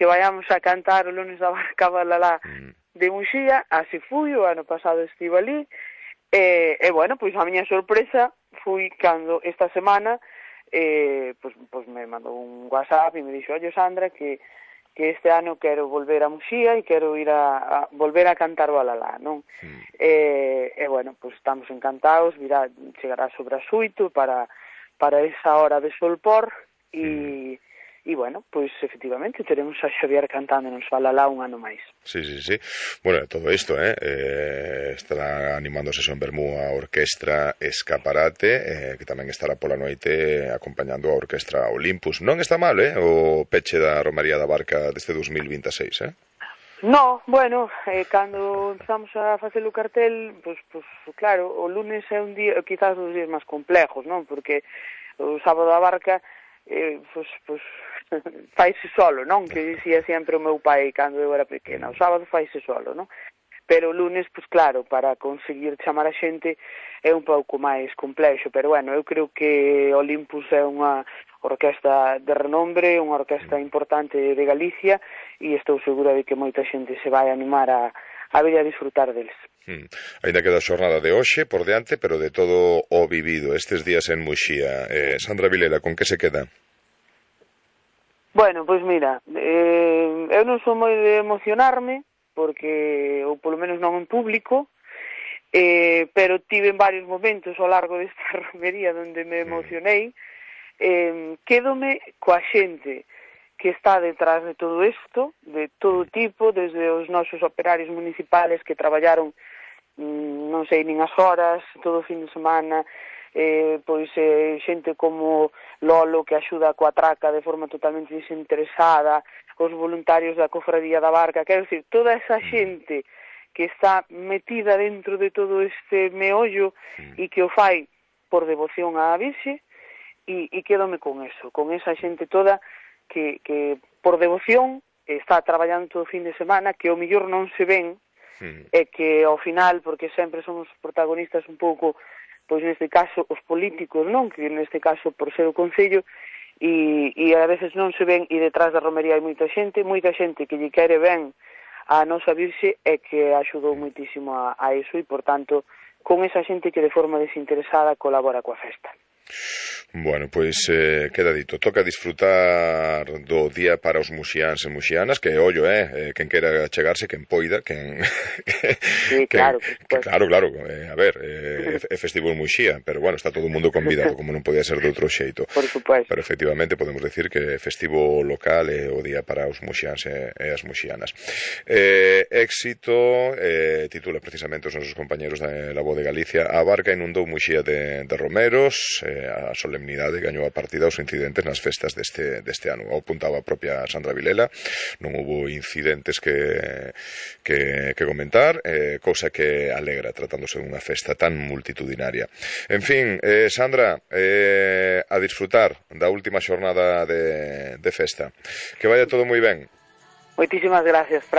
que vayamos a cantar o lunes da Barca Balalá de Muxía. Así fui, o ano pasado estive ali, e bueno, pois a miña sorpresa fui cando esta semana pois me mandou un WhatsApp e me dixo: "Oye, Sandra, que este ano quero volver a Muxía e quero ir a volver a cantar o Alalá, non?" E bueno, pois estamos encantados, chegará sobre as 8 para esa hora de solpor e bueno, pois efectivamente teremos a Xavier cantándonos o Alalá un ano máis. Sí. Bueno, todo isto, estará animándose en Bermú a Orquestra Escaparate, que tamén estará pola noite acompañando a Orquestra Olympus. Non está mal, o peche da Romaría da Barca deste 2026, No, bueno, cando empezamos a facer o cartel, pois claro, o lunes é un día, quizás os días máis complejos, non? Porque o sábado da Barca, pois faise solo, non? Que dicía sempre o meu pai cando eu era pequena, o sábado faise solo, non? Pero o lunes, pois claro, para conseguir chamar a xente é un pouco máis complexo, pero bueno, eu creo que Olympus é unha orquestra de renombre, unha orquestra importante de Galicia, e estou segura de que moita xente se vai animar a vir a disfrutar deles. Ainda queda a xornada de hoxe por diante, pero de todo o vivido estes días en Muxía. Sandra Vilela, con que se queda? Bueno, pois mira, eu non sou moi de emocionarme, porque, ou polo menos non en público, pero tive varios momentos ao largo desta romería onde me emocionei. Quédome coa xente que está detrás de todo isto, de todo tipo, desde os nosos operarios municipales que traballaron non sei nin as horas, todo o fin de semana, pois xente como Lolo que axuda coa traca de forma totalmente desinteresada, os voluntarios da Cofradía da Barca, quero dicir, toda esa xente que está metida dentro de todo este meollo e que o fai por devoción á Virxe, e quédome con eso, con esa xente toda que por devoción está traballando todo o fin de semana, que ao mellor non se ven, e que ao final, porque sempre son os protagonistas un pouco, pois neste caso os políticos, non? Que neste caso por ser o Concello, e a veces non se ven, e detrás da romería hai moita xente que lle quere ben a nosa Virxe e que axudou moitísimo a iso, e por tanto con esa xente que de forma desinteresada colabora coa festa. Bueno, pois queda dito, toca disfrutar do día para os muxiáns e muxianas, que ollo, quen quera chegarse, quen poida, Sí, claro, claro, a ver, é festivo en Muxía, pero bueno, está todo o mundo convidado, como non podía ser de outro xeito. Por supuesto. Pero efectivamente podemos decir que festivo local é o día para os muxiáns e as muxianas. Éxito, titula precisamente os nosos compañeros da Voz de Galicia, a Barca inundou Muxía de romeros, a solemnidade gañou a partida aos incidentes nas festas deste ano. O apuntaba a propia Sandra Vilela, non houbo incidentes que comentar, cousa que alegra tratándose dunha festa tan multitudinaria. En fin, Sandra, a disfrutar da última xornada de festa. Que vaya todo moi ben. Moitísimas gracias, Fran.